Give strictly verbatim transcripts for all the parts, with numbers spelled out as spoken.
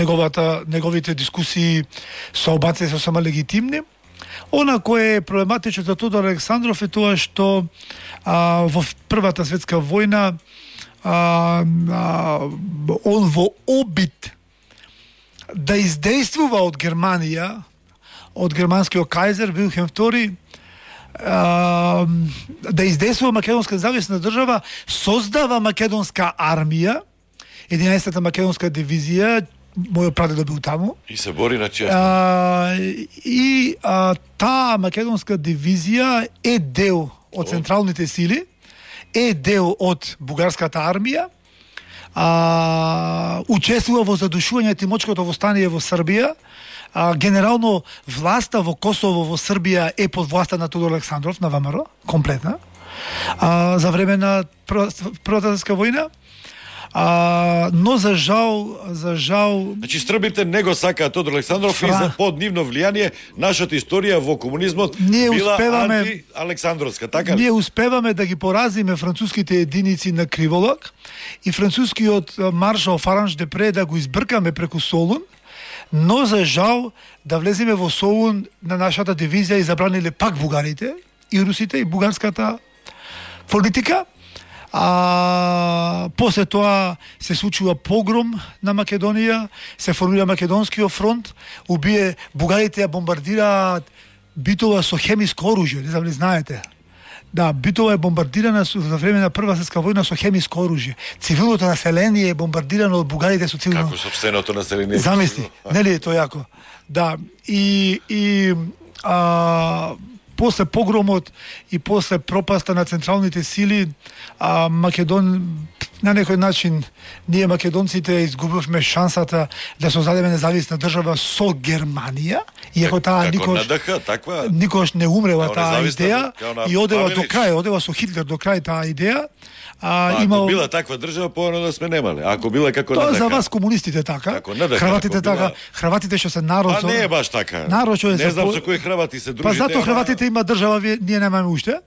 неговата неговите дискусии со албанците се сама легитимни. Она кое е проблематично за Тодор Александров е тоа што а, во Првата светска војна а, а, он во обид да издействува од Германија, од германскиот кајзер Вилхем втори, а, да издействува македонска независна држава, создава македонска армија, единаесетата македонска дивизија, мојот прадедо бил таму. И се бори на чест. И а, таа македонска дивизија е дел од централните сили, е дел од бугарската армија, а, учествува во задушување Тимочкото востание во Србија. А, генерално власта во Косово во Србија е под власта на Тодор Александров, на ВМРО, комплетна, а, за време на Првата светска војна. А, но за жал, за жал... Значи, србите не го сакаат Тодор Александров Фра... и за под нивно влијание нашата историја во комунизмот ние била успеваме... анти-александровска, така ли? Ние успеваме да ги поразиме француските единици на Криволак и францускиот маршал Фаранж Депре да го избркаме преку Солун, но за жал да влеземе во Солун на нашата дивизија и забраниле пак бугарите и русите и бугарската политика. А после тоа се случува погром на Македонија, се формира Македонскиот фронт, убие бугарите, ја бомбардираат Битола со хемиско оружје, не знам ли знаете. Да, Битола е бомбардирана за време на Прва светска војна со хемиско оружје. Цивилното население е бомбардирано од бугарите со цивилно. Како сопственото население? Замисли, нели е тоа јако? Да, и и а после погромот и после пропаста на централните сили, а, Македон, на некој начин, ние македонците изгубивме шансата да создадеме независна држава со Германија, иако таа никош, таква... никош не умрела таа идеја и одева Павелич. до крај, одева со Хитлер до крај таа идеја. А, ако имал... била таква држава, поано да сме немале. Ако била како тоа НДК. за вас комунистите така. Хрватите така, била... хрватите што се народ. Па не е баш така. Народ што е не знам по... со кои хрвати се дружите. Па затоа ама... хрватите има држава, ние немаме уште.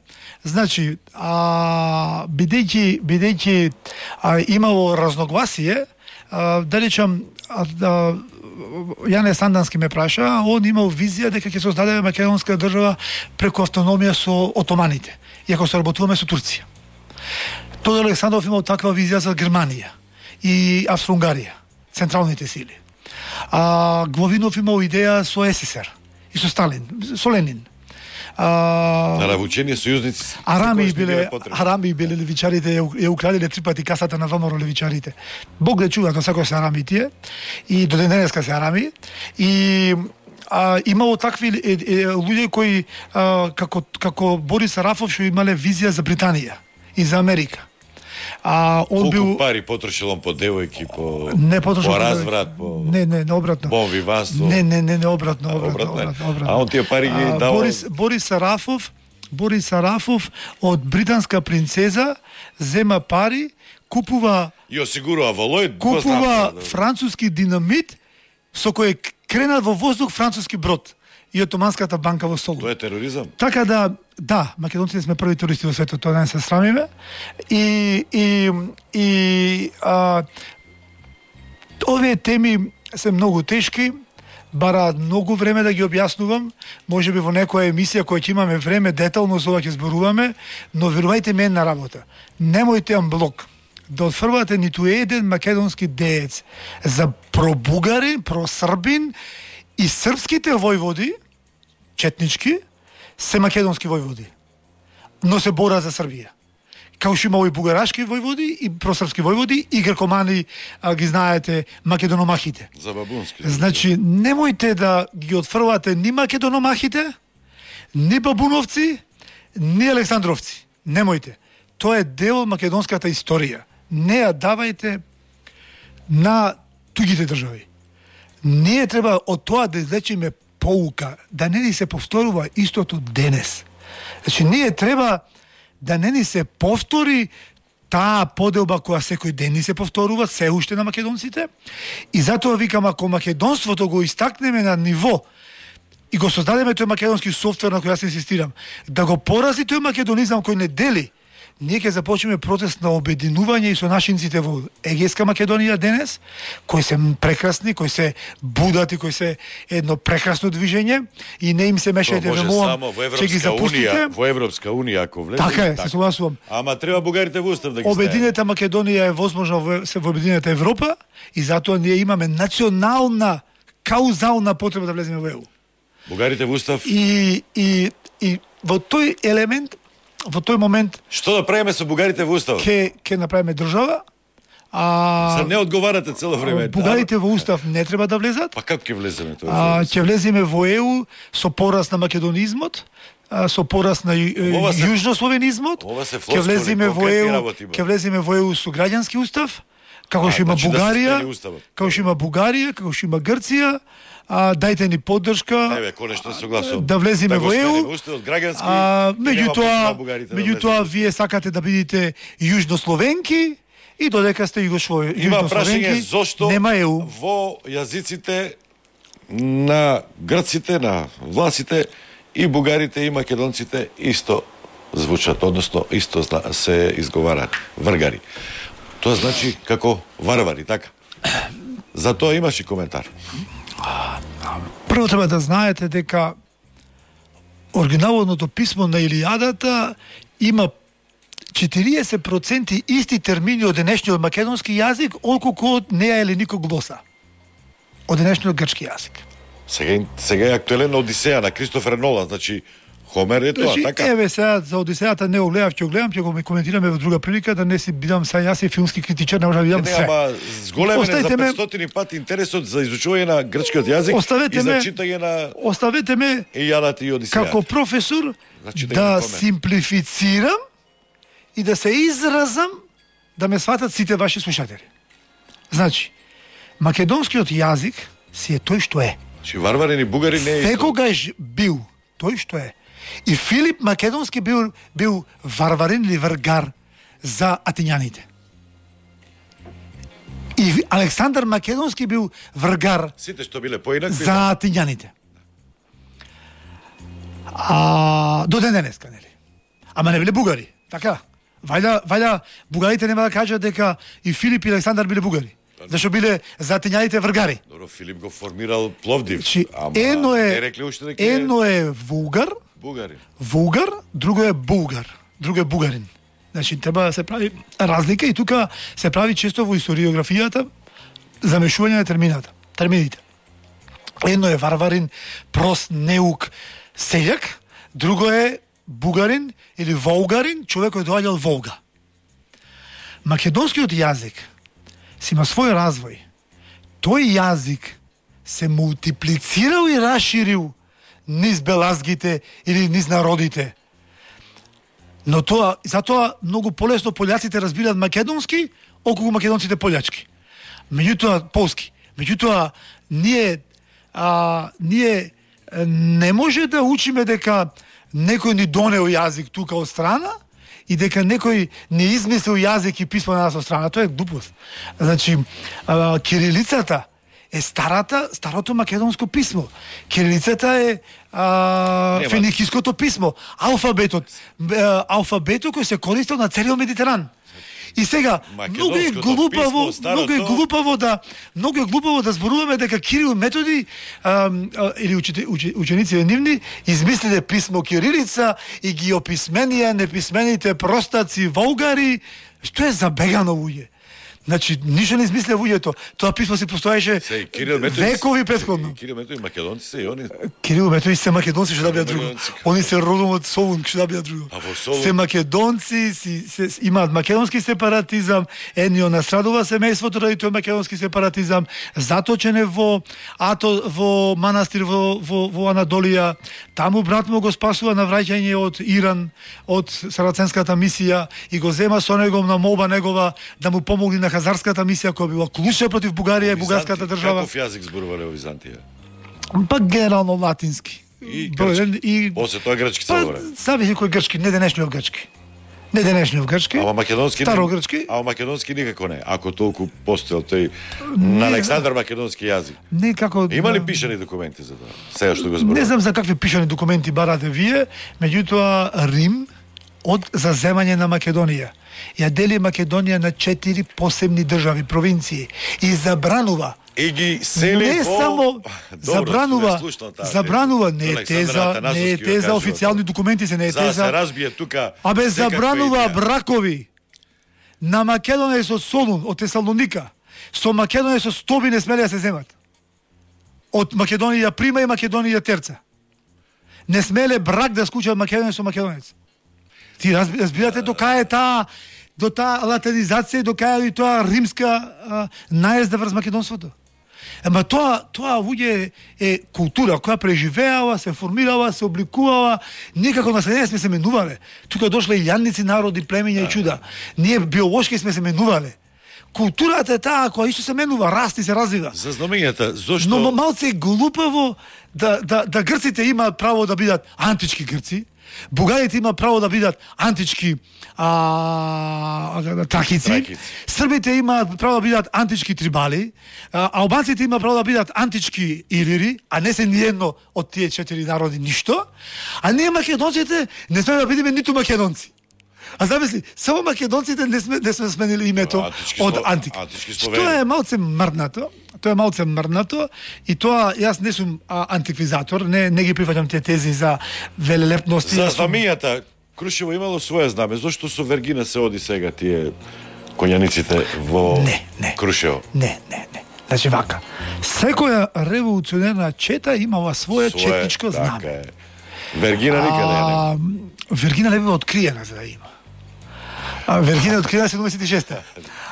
Значи, а, бидејќи бидејќи а, имало разногласие, а, да речам, а, а, Јане Сандански ме праша, он имал визија дека ќе создаде македонска држава преку автономија со отоманите, иако се работуваме со Турција. Тодор Александров имал таква визија за Германија и Австро-Унгарија, централните сили. А Главинов имал идеја со СССР и со Сталин, со Ленин. А, на навучени сојузници. Арами биле, арами биле левичарите, ја украдиле три пати касата на ВМРО левичарите. Бог да чува, тоа секој се арами тие и до ден денеска се арами и а, имало такви е, е, луѓе кои а, како како Борис Арафов што имале визија за Британија и за Америка. А он Колку бил пари потрошил он по девојки, по не потрошил по разврат, по не не не обратно. Бон виванство. Не не не не обратно, обратно, обратно, обратно, обратно. А он тие пари ги а, давал. Борис Борис Арафов, Борис Арафов од британска принцеза зема пари, купува и осигурува волој, купува француски динамит со кој крена во воздух француски брод и Отоманската банка во Солун. Тоа е тероризам. Така да, да, македонците сме први туристи во светот, тоа не се срамиме. И и и а, овие теми се многу тешки, бараат многу време да ги објаснувам, можеби во некоја емисија која ќе имаме време детално за ова ќе зборуваме, но верувајте ми една работа. Немојте амблок да отфрвате ниту еден македонски деец за пробугарин, просрбин и српските војводи, четнички, се македонски војводи, но се бора за Србија. Као што имало и бугарашки војводи, и просрпски војводи, и грекомани, а, ги знаете, македономахите. За бабунски. Значи, немојте да ги отфрвате ни македономахите, ни бабуновци, ни александровци. Немојте. Тоа е дел од македонската историја. Не ја давајте на тугите држави. Ние треба од тоа да извлечеме поука, да не ни се повторува истото денес. Значи, ние треба да не ни се повтори таа поделба која секој ден ни се повторува, се уште на македонците. И затоа викам, ако македонството го истакнеме на ниво и го создадеме тој македонски софтвер на кој јас инсистирам, да го порази тој македонизам кој не дели, ние ќе започнеме процес на обединување и со нашинците во Егејска Македонија денес, кои се прекрасни, кои се будати, кои се едно прекрасно движење и не им се мешајте во молам, ќе ги запустите. Во Европска унија ако влезе. Така е, се согласувам. Ама треба бугарите во устав да ги Обединета Македонија е возможно во, се во Обединета Европа и затоа ние имаме национална каузална потреба да влеземе во Е У. Бугарите во устав. И и и во тој елемент, во тој момент што да правиме со бугарите во устав? Ке ке направиме држава. А За не одговарате цело време. Бугарите во устав не треба да влезат. Па како ќе влеземе тоа? А ќе влеземе во Е У со порас на македонизмот, со порас на јужнословенизмот. Ќе влеземе во Е У, ќе влеземе во Е У со граѓански устав, како што има Бугарија, како што има Бугарија, како што има Грција. А, дајте ни поддршка. Еве, конечно се согласувам. Да влеземе во Е У. А меѓутоа, меѓутоа вие сакате да бидете јужнословенки и додека сте југословенки. Има прашање зошто нема Е У. Во јазиците на грците, на власите и бугарите и македонците исто звучат, односно исто се изговарат вргари. Тоа значи како варвари, така? За тоа имаш и коментар. Прво треба да знаете дека оригиналното писмо на Илијадата има четириесет проценти исти термини од денешниот македонски јазик, отколку од неа или нико глоса. Од денешниот грчки јазик. Сега, сега е актуелен Одисеја на Кристофер Нолан, значи Хомер е тоа, значи, така? Еве сега за Одисејата не го гледав, ќе го гледам, ќе го коментираме во друга прилика, да не си бидам сега јас и филмски критичар, не можам да видам се. Не, ама зголемене за петстотини пати интересот за изучување на грчкиот јазик оставете и за ме, читање на оставете ме Илијадата и Одисејата. Како професор значи, да, да симплифицирам и да се изразам да ме сватат сите ваши слушатели. Значи, македонскиот јазик си е тој што е. Чи варварин и бугари не е секогаш бил тој што е. И Филип Македонски бил бил варварин или вргар за атињаните. И Александар Македонски бил вргар сите што биле поинакви за атињаните. А до ден денеска, нели? Ама не биле бугари, така? Вајда, вајда бугарите нема да кажат дека и Филип и Александар биле бугари. Зашто биле за атињаните вргари. Добро, Филип го формирал Пловдив. Чи, ама едно е, не рекли уште дека едно е вулгар, бугарин. Вулгар, друго е булгар, друго е бугарин. Значи треба да се прави разлика и тука се прави често во историографијата замешување на термината, термините. Едно е варварин, прост, неук, селјак, друго е бугарин или волгарин, човек кој доаѓал Волга. Македонскиот јазик си има свој развој. Тој јазик се мултиплицирал и расширил низ белазгите или низ народите. Но тоа, затоа многу полесно пољаците разбираат македонски, околку македонците полјачки. Меѓутоа полски. Меѓутоа ние а, ние не може да учиме дека некој ни донел јазик тука од страна и дека некој не измислил јазик и писмо на нас од страна. Тоа е глупост. Значи, а, кирилицата е старата, старото македонско писмо. Кирилицата е а, феникиското писмо. Алфабетот, а, алфабетот кој се користел на целиот Медитеран. И сега многу е глупаво, писмо, многу е глупаво да многу е глупаво да зборуваме дека Кирил Методи а, а, или учите, учи, ученици нивни измислиле писмо кирилица и ги описменија неписмените простаци волгари, што е забегано луѓе. Значи, ништо не измислија луѓето. Тоа писмо си постоеше векови претходно. Кирил Методи македонци се и они. Кирил Методи се македонци, што да бидат друго. Они се родом од Солун, што да бидат друго. Се македонци, си, се, имаат македонски сепаратизам, едни од настрадува семејството ради тој македонски сепаратизам, заточене во ато во манастир во во, во Анадолија. Таму брат му го спасува на враќање од Иран, од сараценската мисија и го зема со него на молба негова да му помогне на хазарската мисија која била клучна против Бугарија и бугарската држава. Каков јазик зборувале во Византија? Па генерално латински. И грчки. И после тоа грчки се говори. Зависи кој грчки, не денешниот грчки. Не денешниот грчки. Ама македонски старо грчки. Ама македонски никако не. Ако толку постоел тој на Александар македонски јазик. Не како. Има ли пишани документи за тоа? Сега што го зборувам. Не знам за какви пишани документи барате вие, меѓутоа Рим од заземање на Македонија. Ја дели Македонија на четири посебни држави, провинции и забранува И ги сели не по... само Добро, забранува, таа, забранува не е теза, не е теза, официјални документи се не е за теза. За се разбие тука. Абе забранува бракови на Македонија со Солун од Тесалоника. Со Македонија со Стоби не смеле да се земат. Од Македонија прима и Македонија терца. Не смеле брак да скучат Македонија со македонец. Ти разбирате до кај е таа до таа латинизација, до кај е тоа римска а, наезда врз македонството. Ама тоа тоа луѓе е култура која преживеала, се формирала, се обликувала, никако население сме се менувале. Тука дошле илјадници народи, племиња и чуда. Ние биолошки сме се менувале. Културата е таа која исто се менува, расти, се развива. За знамењата, зошто... Но малце е глупаво да, да, да грците имаат право да бидат антички грци, бугарите имаат право да бидат антички а, тракици, Тракици. србите имаат право да бидат антички трибали, а, албанците имаат право да бидат антички илири, а не се ниедно од тие четири народи ништо, а ние македонците не сме да бидеме ниту македонци. А замисли, само македонците не сме, не сме сменили името антички од сло... антика. Што Тоа е малце мрднато, тоа е малце мрднато и тоа јас не сум а, антиквизатор, не не ги прифаќам тие тези за велелепности. За сум... знамењата, Крушево имало свое знаме. Зошто со Вергина се оди сега тие коњаниците во Не, не. Крушево? Не, не, не. Значи вака, секоја револуционерна чета имала своја Свое, четничко така знаме. е. Вергина никаде не. А, Вергина не била откриена за да има. А Вергина е откриена седумдесет и шеста.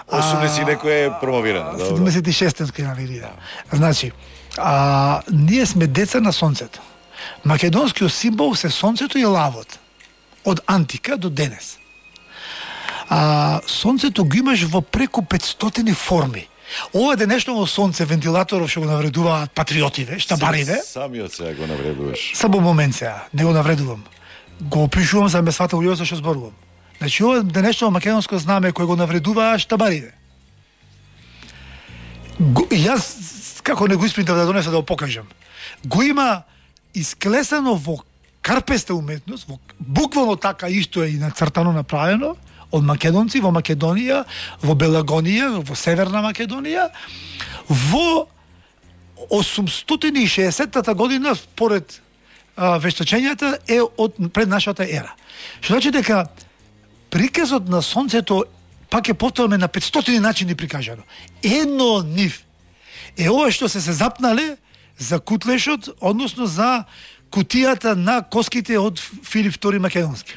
осумдесет и некој е промовирана. добро. седумдесет и шеста е откриена Вергина. Значи, а, ние сме деца на сонцето. Македонскиот символ се сонцето и лавот. Од антика до денес. А, сонцето го имаш во преку петстотини форми. Ова денешно сонце, вентилаторов што го навредуваат патриотиве, штабариве. Самиот сега го навредуваш. Само момент сега, не го навредувам. Го опишувам за да ме свата луѓето што зборувам. Значи, ова денешно македонско знаме кој го навредува штабариве. Го, јас, како не го испринтав да донеса да го покажам, го има исклесано во карпеста уметност, во, буквално така исто е и нацртано направено, од македонци во Македонија, во Белагонија, во Северна Македонија, во осумстотини и шеесеттата година, според а, вештачењата, е од пред нашата ера. Што значи дека приказот на сонцето пак е повторно на петстотини начини прикажано. Едно од нив е ова што се се запнале за кутлешот, односно за кутијата на коските од Филип втори Македонски.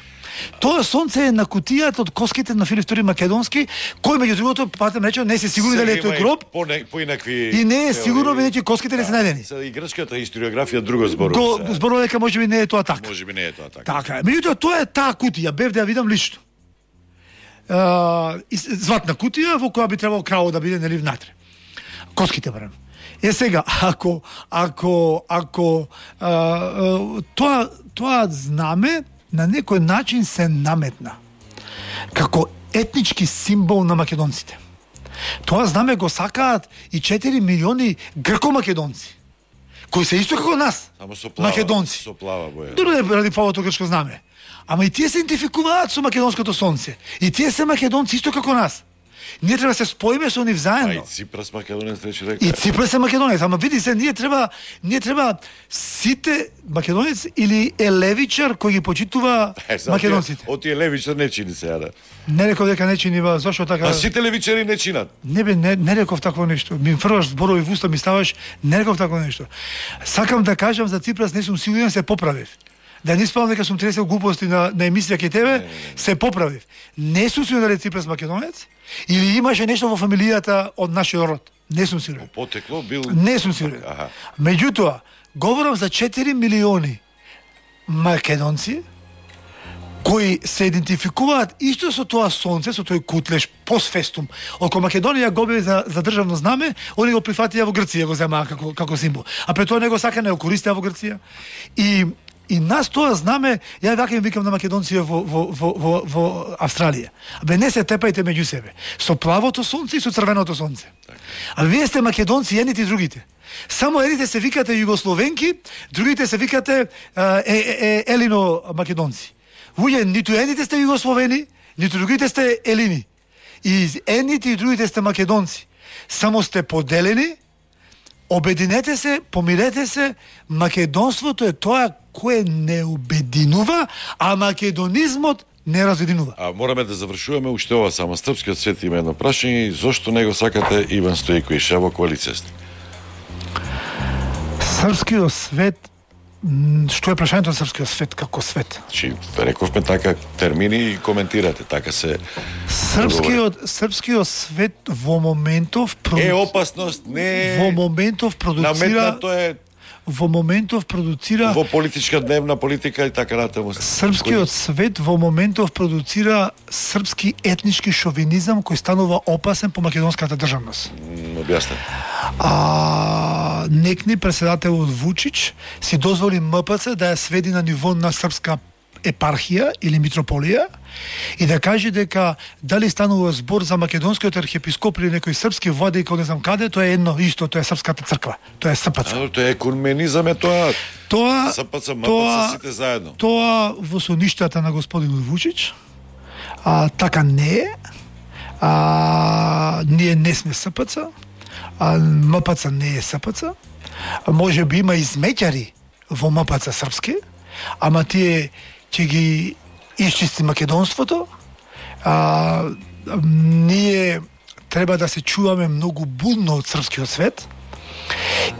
Тоа сонце е на кутијата од коските на Филип втори Македонски, кој меѓу другото, патем рече, не се сигурни дали е тој гроб. По, не, по инакви И не е сигурно бидејќи коските не се најдени. Сега и грчката историографија друго зборува. Го зборува дека можеби не е тоа така. Можеби не е тоа така. Така е. Меѓутоа тоа е таа кутија, бев да ја видам лично. Uh, златна кутија во која би требало крало да биде нели внатре. Коските барем. Е сега, ако ако ако а, а, тоа тоа знаме на некој начин се наметна како етнички символ на македонците. Тоа знаме го сакаат и четири милиони грко-македонци, кои се исто како нас, Само со плава, македонци. со плава боја. Дори ради плавото грчко знаме. Ама и тие се идентификуваат со македонското сонце. И тие се македонци исто како нас. Ние треба да се споиме со нив А заедно. и Ципрас македонец рече дека. И Ципрас е македонец, ама види се, ние треба, ние треба сите македонец или е левичар кој ги почитува Е, сега македонците. тие- Од тие левичар не чини сега да. Не реков дека не чинива, зашо така? А сите левичари не чинат. Не бе, не, не реков такво нешто. Ми фрлаш зборови в уста, ми ставаш, не реков такво нешто. Сакам да кажам за Ципрас, не сум сигурен, се поправив. Да не спомнам дека сум тресел глупости на, на емисија ке тебе, не, не, не. се поправив. Не сум сигурен дали Ципрас македонец, или имаше нешто во фамилијата од нашиот род. Не сум сигурен. Потекло бил. Не сум сигурен. Аха. Меѓутоа, говорам за четири милиони македонци кои се идентификуваат исто со тоа сонце, со тој кутлеш постфестум. Око Македонија го бе за, за државно знаме, они го прифатија во Грција, го земаа како, како символ. А пред тоа не го сака, не го користеа во Грција. И И нас тоа знаме, ја вака им викам на македонците во, во, во, во, во Австралија. Абе не се тепајте меѓу себе. Со плавото сонце и со црвеното сонце. А вие сте македонци, едните и другите. Само едните се викате југословенки, другите се викате е, е, е, елино македонци. Луѓе, ниту едните сте југословени, ниту другите сте елини. И едните и другите сте македонци. Само сте поделени, обединете се, помирете се, македонството е тоа кое не обединува, а македонизмот не разединува. А мораме да завршуваме уште ова само. Српскиот свет има едно прашање, зошто не го сакате Иван Стојковиќ во коалицијата? Српскиот свет, што е прашањето на српскиот свет како свет? Чи рековме така термини и коментирате, така се Српскиот српскиот свет во моментов проду... е опасност, не во моментов продуцира наметнато е во моментов продуцира во политичка дневна политика и така натаму. Српскиот свет во моментов продуцира српски етнички шовинизам кој станува опасен по македонската државност. Објасни. А некни председателот Вучич си дозволи М П Ц да ја сведи на ниво на српска епархија или митрополија и да каже дека дали станува збор за македонскиот архиепископ или некој српски владик, не знам каде, тоа е едно исто, тоа е српската црква, тоа е С П Ц. А, тоа е екуменизам е тоа. Тоа С П Ц, М П Ц тоа, сите заедно. Тоа во соништата на господинот Вучич, а така не е. А ние не сме С П Ц, а М П Ц не е С П Ц. А може би има измеќари во М П Ц српски, ама тие ќе ги исчисти македонството. А, ние треба да се чуваме многу будно од српскиот свет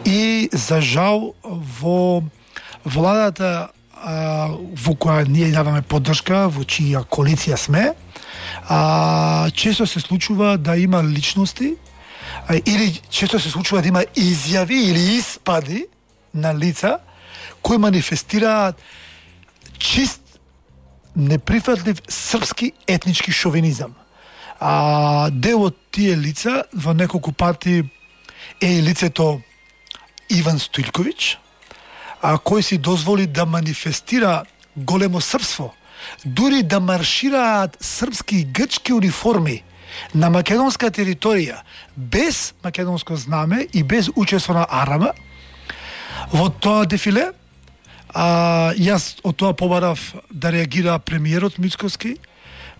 и за жал во владата а, во која ние даваме поддршка, во чија коалиција сме, а, често се случува да има личности а, или често се случува да има изјави или испади на лица кои манифестираат чист неприфатлив српски етнички шовинизам. А дел од тие лица во неколку пати е и лицето Иван Стојковиќ, а кој си дозволи да манифестира големо српство, дури да маршираат српски и грчки униформи на македонска територија без македонско знаме и без учество на Арама во тоа дефиле. А, јас од тоа побарав да реагира премиерот Мицкоски,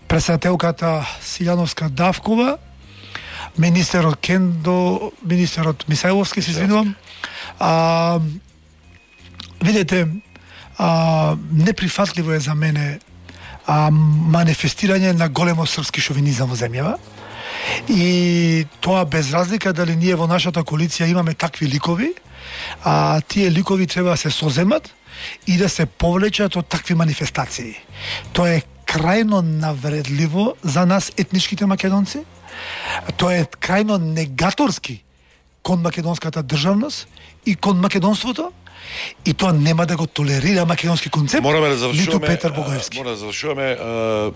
председателката Силјановска Давкова, министерот Кендо, министерот Мисајловски, се извинувам. А, видете, а, неприфатливо е за мене а, манифестирање на големо српски шовинизам во земјава. И тоа без разлика дали ние во нашата коалиција имаме такви ликови, а тие ликови треба да се соземат и да се повлечат од такви манифестации. Тоа е крајно навредливо за нас етничките македонци. Тоа е крајно негаторски кон македонската државност и кон македонството. И тоа нема да го толерира македонски концепт. Мораме да завршуваме. Ниту Петар Богоевски. Мора да завршуваме. А,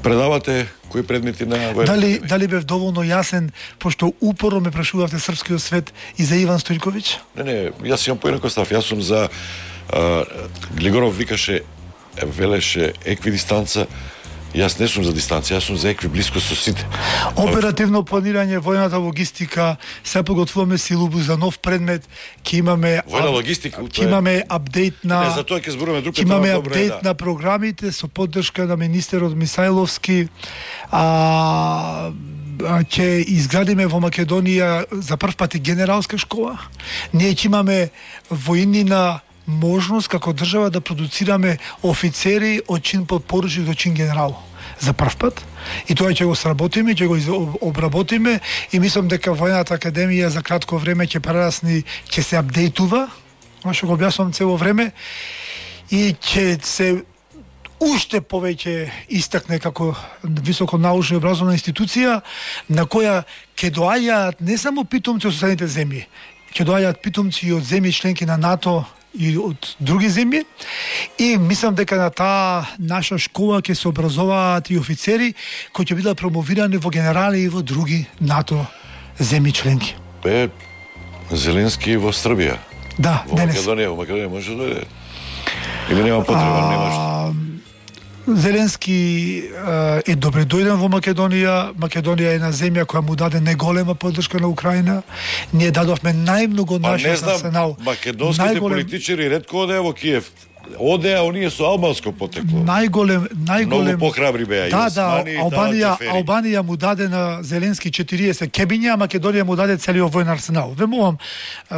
предавате кои предмети на војната? Дали дали бев доволно јасен, пошто упорно ме прашувавте српскиот свет и за Иван Стојковиќ? Не, не, јас имам поинаков став. Јас сум за а, Глигоров викаше, велеше еквидистанца. Јас не сум за дистанција, јас сум за екви блиско со сите. Оперативно планирање, војната логистика, се подготвуваме силубус за нов предмет, ќе имаме војна логистика, ќе имаме апдејт на Не, за тоа ќе зборуваме друг пат. Ќе имаме добре, апдејт да. на програмите со поддршка на министерот Мисајловски. А ќе изградиме во Македонија за прв пат и генералска школа. Ние ќе имаме војнина можност како држава да продуцираме офицери од чин подпоручник до чин генерал за прв пат. И тоа ќе го сработиме, ќе го обработиме и мислам дека војната академија за кратко време ќе прерасни, ќе се апдейтува, што го објаснувам цело време, и ќе се уште повеќе истакне како високо научна и образовна институција на која ќе доаѓаат не само питомци од соседните земји, ќе доаѓаат питомци и од земји членки на НАТО и од други земји, и мислам дека на таа наша школа ќе се образуваат и офицери кои ќе бидат промовирани во генерали и во други НАТО земји членки. Бе, Зеленски во Србија. Да, во денес. Македонија, во Македонија може да дојде. Или нема потреба, нема што. Зеленски е добре дојден во Македонија. Македонија е една земја која му даде неголема поддршка на Украина. Ние дадовме најмногу Па нашиот не знам, арсенал. македонските Најголем... политичари ретко одеа во Киев. одеа оние со албанско потекло. Најголем, најголем. Многу похрабри беа и Да, да, Османи, Албанија, Таджефери. Албанија му даде на Зеленски четириесет кебиња, а Македонија му даде целиот воен арсенал. Вемувам,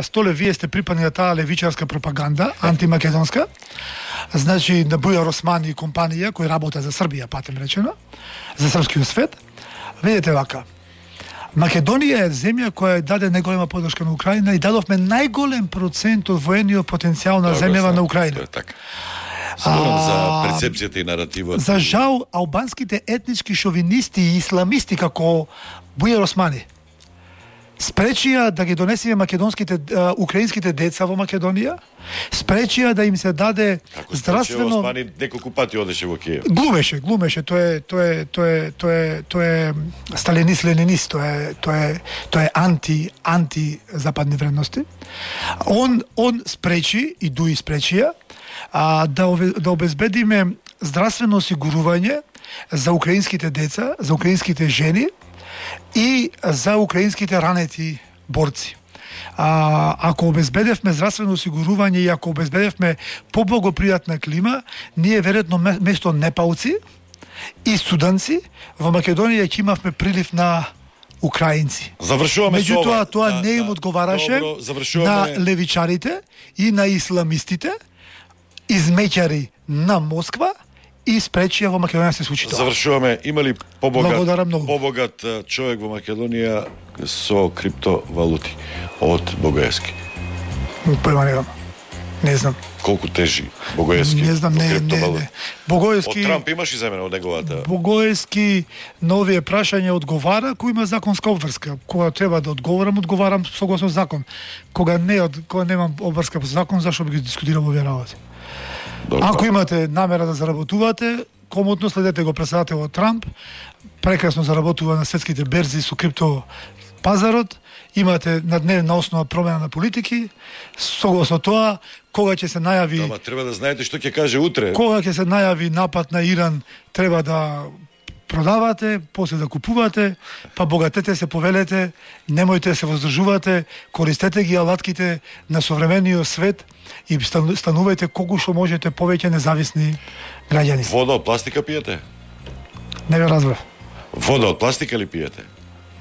Столе, вие сте припадни на таа левичарска пропаганда, антимакедонска. Значи, на Бујар Османи компанија кој работа за Србија, патем речено, за српскиот свет. Видете вака. Македонија е земја која даде најголема поддршка на Украина и дадовме најголем процент од воениот потенцијал на земјава на Украина. Тоа е така. Зборам за А, перцепцијата и наративот. За жал, албанските етнички шовинисти и исламисти како Бујар Османи спречија да ги донесеме македонските а, украинските деца во Македонија, спречија да им се даде Како здравствено. Османи неколку пати одеше во Киев. Глумеше, глумеше, тоа е тоа е тоа е тоа е тоа е сталинист ленинист, тоа е тоа е тоа е анти анти западни вредности. Он он спречи и дуи спречија а, да ове- да обезбедиме здравствено осигурување за украинските деца, за украинските жени и за украинските ранети борци. А, ако обезбедевме здравствено осигурување и ако обезбедевме поблагопријатна клима, ние веројатно ме- место непалци и суданци во Македонија ќе имавме прилив на украинци. Завршуваме со ова. Меѓутоа, тоа Да, не им да. одговараше Добро, на завршуваме. левичарите и на исламистите, измеќари на Москва и спречија во Македонија се случи тоа. Завршуваме. Има ли побогат, Благодарам многу. побогат а, човек во Македонија со криптовалути од Богоевски? Појма немам. Не знам. Колку тежи Богоевски? Не знам, во не, не, криптовалути? не. Богоевски... Од Трамп имаш иземено од неговата? Богоевски на овие прашања одговара кој има законска обврска. Кога треба да одговорам, одговарам согласно закон. Кога не од кога немам обврска по закон, зашто би ги дискутирам овие работи? Добро. Ако имате намера да заработувате, комотно следете го председателот Трамп, прекрасно заработува на светските берзи со крипто пазарот, имате на дневна основа промена на политики, согласно тоа, кога ќе се најави Ама треба да знаете што ќе каже утре. кога ќе се најави напад на Иран, треба да продавате, после да купувате, па богатете се, повелете, немојте да се воздржувате, користете ги алатките на современиот свет и стану- станувајте колку што можете повеќе независни граѓани. Вода од пластика пиете? Не ве разбрав. Вода од пластика ли пиете?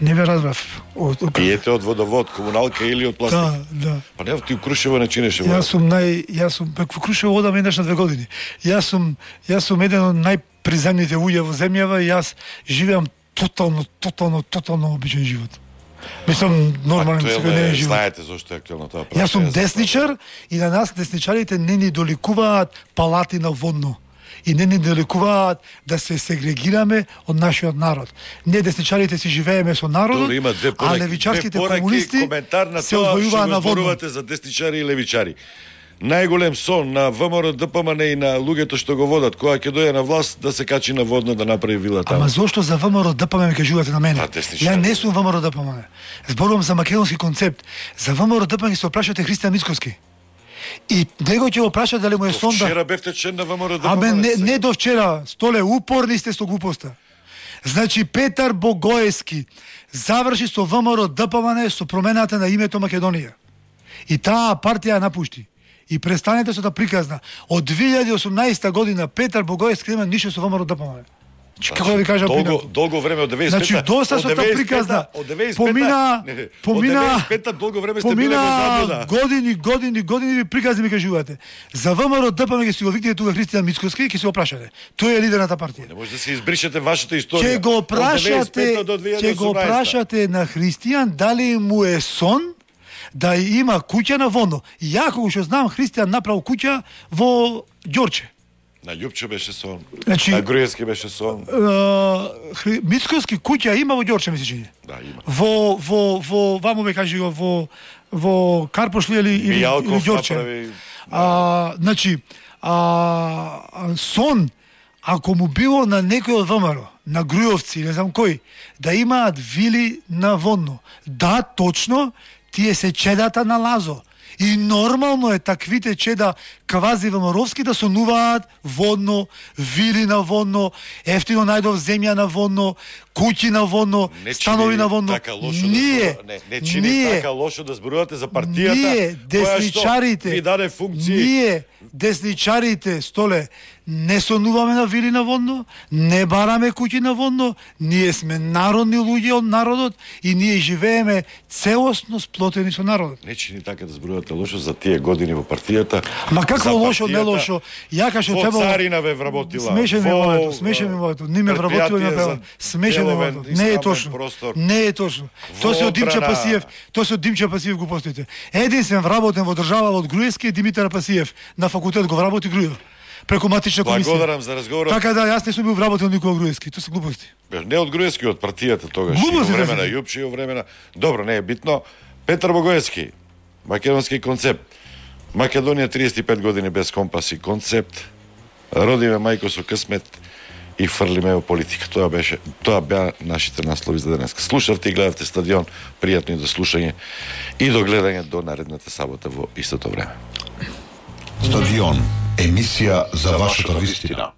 Не ве разбрав. Од- од- Пиете од водовод, комуналка или од пластика? Да, да. Па не, ти у Крушево не чинеше вода. Јас сум нај јас сум пак во Крушево одам еднаш на две години. Јас сум јас сум еден од најприземните луѓе во земјава и јас живеам тотално тотално тотално обичен живот. Мислам нормален секојдневен живот. Знаете зошто е актуелно тоа прашање. Јас сум за десничар и на нас десничарите не ни доликуваат палати на водно. И не ни доликуваат да се сегрегираме од нашиот народ. Не десничарите си живееме со народот, Добро, има две а пораки, левичарските две пораки, комунисти коментар на се тоа што одвојуваат го на водно. зборувате за десничари и левичари. Најголем сон на ВМРО ДПМН и на луѓето што го водат, кога ќе дојде на власт да се качи на водно да направи вила таму. Ама зошто за ВМРО ДПМН ме кажувате на мене? А, десничари. Ја не сум ВМРО ДПМН. Зборувам за македонски концепт. За ВМРО ДПМН се опрашате Христијан Мицковски. И него ќе го прашат дали му е сон да... Вчера бевте член на ВМРО ДПМН. Абе, не, не до вчера. Столе, упорни сте со глупоста. Значи, Петар Богоевски заврши со ВМРО ДПМН со промената на името Македонија. И таа партија ја напушти. И престанете со та приказна. Од две илјади и осумнаесета година Петар Богоевски нема ништо со ВМРО ДПМН. Значи, како да ви кажам долго, пинато? долго време од деветдесет и пета. Значи, доста од со та деветдесет и пета, приказна. Од деветдесет и пета, Помина, не, не, помина, од деветдесет и пета долго време сте биле во помина заблуда. години, години, години ви приказни ми кажувате. За ВМРО ДПМН ќе си го викнете тука Христијан Мицковски и ќе се го прашате. Тој е лидер на таа партија. Не може да се избришете вашата историја. Ќе го Од деветдесет и прашате, пета до две илјади и ќе го осумнаесета. прашате на Христијан дали му е сон да има куќа на Водно. Ја кога што знам Христијан направил куќа во Ѓорче. На Љупче беше сон. Значи- На Груевски беше сон. Е, Хри- Мицковски куќа има во Ѓорче, ми се чини. Да, има. Во во во ваму ме кажи го во во Карпош ли или или, или Мијалков Ѓорче. направи... А, значи, а, а, сон, ако му било на некој од ВМРО, на Грујовци, не знам кој, да имаат вили на Водно. Да, точно, тие се чедата на Лазо. И нормално е таквите чеда квази ВМРО-вски да сонуваат Водно, вили на Водно, ефтино најдов земја на Водно, куќи на Водно, Не станови чини на Водно. така лошо ние, да зборува- не, не чини ние, така лошо да зборувате за партијата ние, која што десничарите, ви даде функции. ние, Десничарите, Столе, не сонуваме на вили на Водно, не бараме куќи на Водно, ние сме народни луѓе од народот и ние живееме целосно сплотени со народот. Не че ни така да зборувате лошо за тие години во партијата. Ма какво лошо, не лошо? Ја кашо во требало... Царина ве вработила. Смешен ми моето, смешен ми моето. Не ме вработила на пева. Смешен ми моето. Не е точно. Простор. Не е точно. Тоа се од Димча Пасиев, тоа се од Димча Пасиев го постоите. Единствен вработен во држава од Груевски е Димитар Пасиев. На факултет го вработи Груев. Преку матична комисија. Благодарам за разговорот. Така да, јас не сум бил вработен никога Груевски, тоа се глупости. Не од Груевски, од партијата тогаш. Глупости, во време да на Јупчи, во време на... Добро, не е битно. Петар Богоевски, македонски концепт. Македонија триесет и пет години без компас и концепт. Родиме мајко со късмет и фрлиме во политика. Тоа беше, тоа беа нашите наслови за денес. Слушавте и гледавте Стадион, пријатно и до слушање и до гледање до наредната сабота во истото време. Стадион, емисија за вашата вистина.